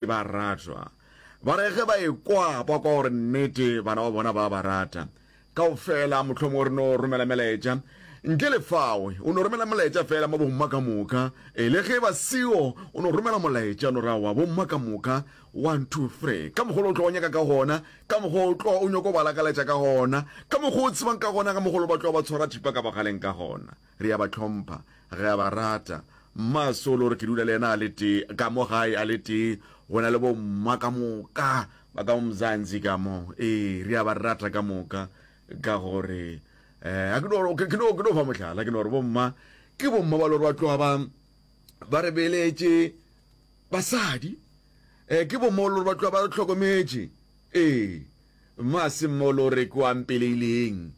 Ba ratwa. Ba re ge ba ekwa, ba kwa gore nnete bana ba bona ba ba rata. Kaofela mohlomongwe re no romela melaetša. Ntle le fao, o no romela molaetša fela mo bomma ka moka. E le ge ba seo, o no romela molaetša, o no re aowa bomma ka moka, one, two, three. Ka mokgwa o tlo o nyaka ka gona, ka mokgwa o tlo o nyoko ba lakaletša ka gona, ka mokgwa o tsebang ka gona, ka mokgwa o ba tlo ba tshwara thipa ka bogaleng ka gona. Re a ba hlompha, re a ba rata. Mma Solo re ke dula le yena a le tee ka mo gae a le tee, go na le bo mma ka moka ba ka mo Mzansi ka mo. Ee, re a ba rata ka moka ka gore eh a ke no ke no ke no fa mohlala ke no re bo mma ke bo mma ba le gore ba tloga ba ba re beletše basadi eh ke bo mma ba le gore ba tloga ba re hlokometše. Ee, mma se mma o le gore ke wa mpeleileng.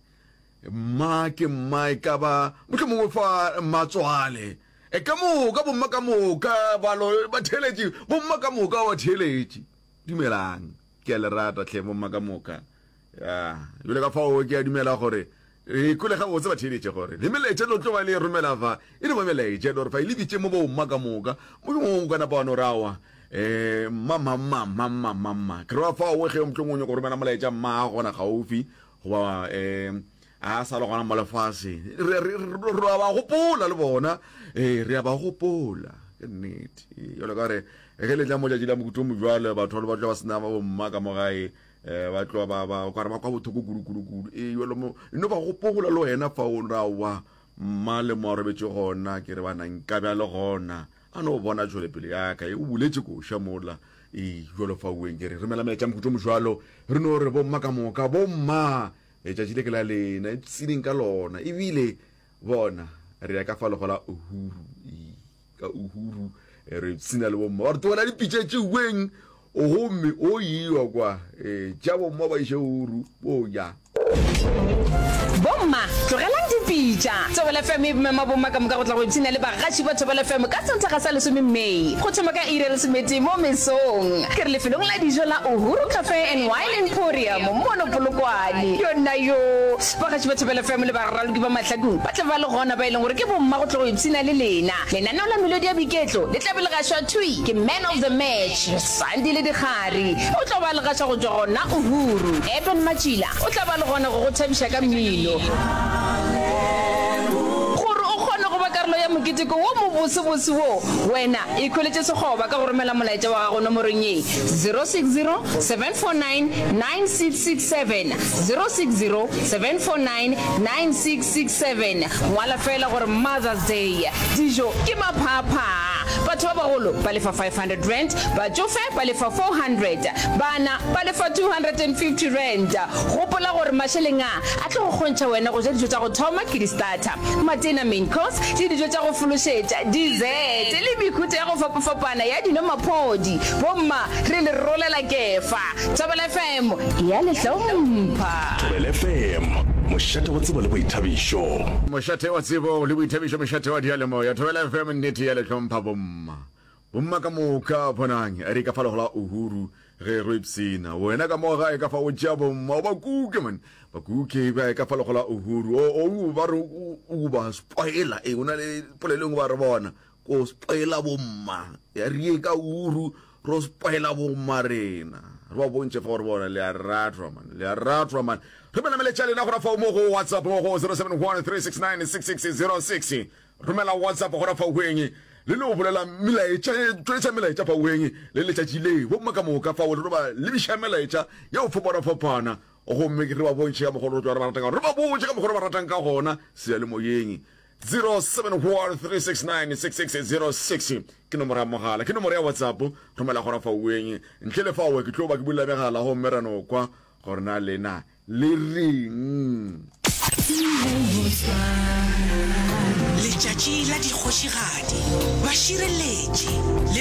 Mma ke mma e ka ba mohlomongwe fa mmatswale. E ka moka bomma ka moka balo ba theeletše bomma ka moka ba theeletše. Dumelang ke a le rata hle bomma ka moka. Ya jale ka fao ke a dumela gore re kwele gabotse ba theeletše gore le melaetša lo tlo ba le romela fa e no ba melaetša e le gore fa e lebitše mo bomma ka moka mohlomongwe o ka napa wa no rawa um mma mma mma mma mma mma mma ke ra fao ge mohlomongwe o nyaka go romela molaetša mma gona gaufi Goba um a sa le gona mo lefaseng. Re, re, re, re a ba gopola le bona. Ee, re a ba gopola. Ke nnete. Jalo ka gore ge le tla mo tšatši la mokuto mojwalo, batho ba tloga ba sena ba bomma ka mo gae, um ba tloga ba, ba, kare ba kwa bothoko kudu, kudu, kudu. Ee, jalo mo, no ba gopola le wena fa o ra wa mma le mo a robetše gona, ke re bana nkabe a le gona. A no bona tšwelepele ya ka, e o boletše koša mola. Ee, bjalo fa ueng ke re, romela melaetša mohuta o mojwalo, re no re bomma ka moka, bomma, letšatši le ke la lena, ipshineng ka lona. Ebile, bona, re ya ka fa legola Uhuru, ee, ka Uhuru, re ipshina le bomma. Ba re tlogela dipitša tše ueng, gomme o iwa kwa, ee, tša bomma ba iše Uhuru, bo ja. Bomma, tlogelang dipitša! Thobela FM e mema bomma ka moka go tla go ipshina le bagaši ba Thobela FM ka Sontaga sa lesome May go thoma ka iri ya lesometee mo mesong. Ke re lefelong la dijo la Uhuru Cafe and Wine Emporium mono Polokwane. Yonna yoo! Bagaši ba Thobela FM le baraloki ba mahlakong ba tla ba le gona ba e leng gore ke bomma go tla go ipshina le lena. Lenaneo la Melodi ya Boiketlo le tla be le gašwa thwi ke Man of the Match, Sandile Dikgari. O tlo ba le gaša go tšwa gona Uhuru. Eben Matšila o tla ba le gona go go thabiša ka mmino. Gore o kgone go ba karolo ya moketeko wo mobosebose wo, wena ikhweletše sekgoba ka go romela molaetša wa gago nomorong ye, 060 749 9667, 060 749 9667. Ngwala feela gore Mother's Day. Dijo ke maphaaphaa. Batho ba bagolo ba lefa R500, batšofe ba lefa R400, bana ba lefa R250. Gopola gore mašeleng a a tlo go kgontšha wena go ja dijo tša go thoma ke di-starter, matena, main course, le dijo tša go fološetša, dessert, le mehuta ya go fapafapana ya dino maphodi. Bomma, re le rolela kefa. Thobela FM e a le hlompha. Thobela FM, mošate wa tsebo le boithabišo. Mošate wa tsebo le boithabišo, mošate wa diyalemoya. Thobela FM nnete ya le hlompha bomma. Bomma ka moka bonang re ka fa legola Uhuru ge re ipsina. Wena ka mo gae ka fa o tšea bomma o ba kuke man. Ba kuke ba ka fa legola Uhuru. O o ba re o ba spoiler. E o na le polelo engwe ba re bona. Ko spoiler bomma. Ya re ye ka Uhuru ro spoiler bomma rena. Re ba bontšhe fa gore bona le a ratwa man. Le a ratwa man. Romela meletša lena gona fa mo go WhatsApp mo go 071 369 6606. Romela WhatsApp gona fa weng le no bolela melaetša tšweletša melaetša fa weng le letšatši le bomma ka moka fa o le ba lebiša melaetša ya go fapana fapana gomme re ba bontšhe ka mokgwa re tloga re ba ratang ka gona re ba botše ka mokgwa re ba ratang ka gona seyalemoyeng 0713696606 ke nomoro ya mogala ke nomoro ya whatsapp romela gona fa weng ntle le fao ke tlo ba ke bulela megala gomme ra no kwa gore na lena le reng. Letšatši la dikgošigadi, bašireletši le.